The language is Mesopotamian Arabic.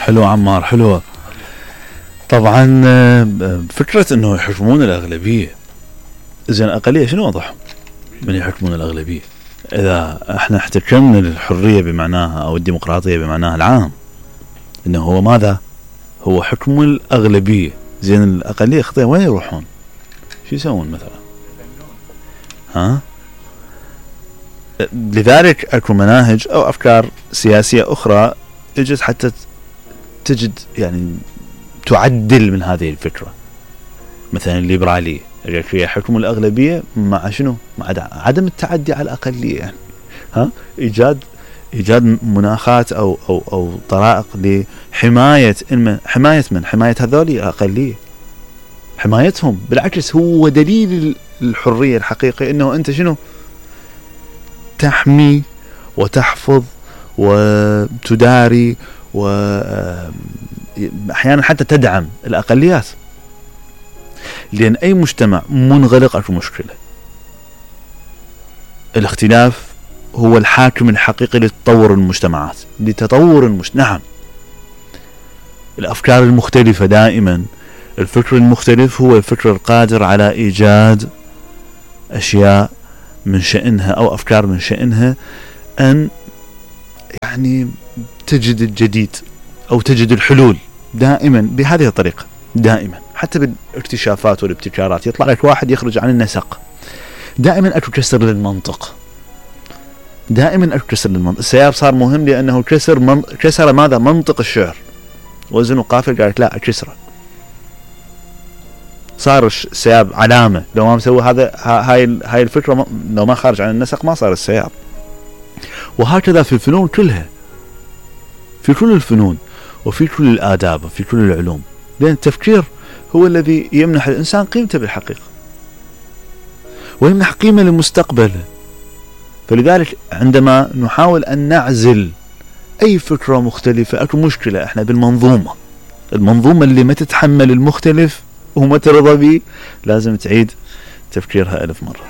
حلو عمار، حلوة. طبعا فكرة انه يحكمون الاغلبية، زين الاقلية شنو وضعهم من يحكمون الاغلبية؟ اذا احنا احتكمنا للحرية بمعناها او الديمقراطية بمعناها العام، انه هو ماذا؟ هو حكم الاغلبية. زين الاقلية خطية وين يروحون؟ شو يسوون مثلا؟ ها؟ لذلك اكو مناهج او افكار سياسية اخرى اجت حتى تجد يعني تعدل من هذه الفكرة. مثلا الليبرالية هي حكم الأغلبية مع شنو؟ مع عدم التعدي على الأقلية، يعني ها إيجاد مناخات أو طرائق لحماية حماية هذول الأقلية، حمايتهم. بالعكس هو دليل الحرية الحقيقي إنه أنت شنو؟ تحمي وتحفظ وتداري وأحيانا حتى تدعم الأقليات. لأن أي مجتمع منغلق أكو مشكلة. الاختلاف هو الحاكم الحقيقي لتطور المجتمعات، نعم. الأفكار المختلفة دائما، الفكر المختلف هو الفكر القادر على إيجاد أشياء من شأنها أو أفكار من شأنها أن يعني تجد الجديد أو تجد الحلول دائما بهذه الطريقة. دائما حتى بالاكتشافات والابتكارات يطلع لك واحد يخرج عن النسق. دائما أكو كسر للمنطق، السياب صار مهم لأنه كسر ماذا؟ منطق الشعر. وزن وقافل قالت لا أكسره، صار السياب علامة. لو ما مسوي هذا هاي الفكرة، لو ما خارج عن النسق ما صار السياب. وهكذا في الفنون كلها، في كل الفنون وفي كل الآداب وفي كل العلوم، لأن التفكير هو الذي يمنح الإنسان قيمته بالحقيقة ويمنح قيمة لمستقبله. فلذلك عندما نحاول أن نعزل أي فكرة مختلفة أكو مشكلة. احنا بالمنظومة اللي ما تتحمل المختلف وما ترضى به لازم تعيد تفكيرها 1000 مرة.